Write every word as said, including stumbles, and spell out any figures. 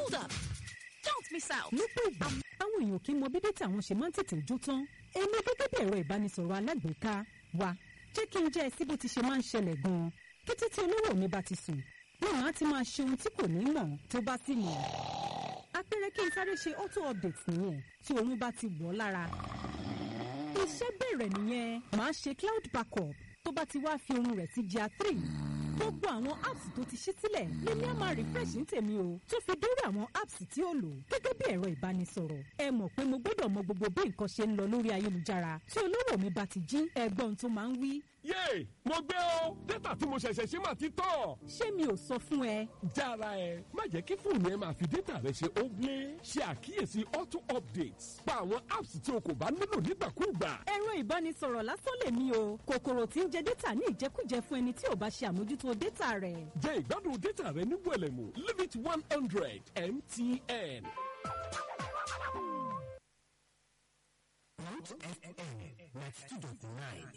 Hold up. Don't miss out. Lọ́pọ̀ ìgbà, àwọn èèyàn kì í mọ bí data àwọn ṣe máa ń tètè jó tán. Èmi gẹ́gẹ́ bí ẹ̀rọ ìbánisọ̀rọ̀ alágbèéká wa, jẹ́ kí n jẹ́ ẹ sí bó ti ṣe máa ń ṣẹlẹ̀ gan-an. Kété tí olówó mi bá ti sùn, ní màá ti máa ṣe ohun tí kò ní mọ̀ tó bá sì mọ̀. Apẹ̀rẹ̀ kí n sáré ṣe auto update nìyẹn tí oorun bá ti wọ̀ lára. Iṣẹ́ bẹ̀rẹ̀ nìyẹn, màá ṣe cloud backup tó bá ti wá fi oorun rẹ̀ sí G R three. Gbogbo àwọn apps tó ti ṣí sílẹ̀ lèmi á máa refresh ní tèmi o, tó fi dórí àwọn apps tí ó lò gẹ́gẹ́ bí ẹ̀rọ ìbánisọ̀rọ̀. Ẹ mọ̀ pé mo gbọ́dọ̀ mọ gbogbo bí nǹkan ṣe ń lọ lórí ayélujára tí olówó mi bá ti jí, ẹ̀gbọ́n tó máa ń wí. Yéè, mo gbé o, data tí mo ṣẹ̀ṣẹ̀ ṣe máa ti tọ̀. Ṣé mi ò sọ fún ẹ? Jára ẹ, má jẹ́ kí fóònù ẹ máa fi data rẹ ṣe óblé. Ṣe àkíyèsí auto updates. Pa àwọn apps tí o kò bá nílò nígbàkúùgbà. Ẹ̀rọ ìbánisọ̀rọ̀ lásán lèmi o, kòkòrò tí ń jẹ data ní ìjẹkújẹ fún ẹni tí ò bá ṣe àmójútó data rẹ̀. Jẹ ìgbádùn data rẹ ní wẹ̀lẹ̀mú. Limit one hundred M T N. Root F M ninety two dot nine.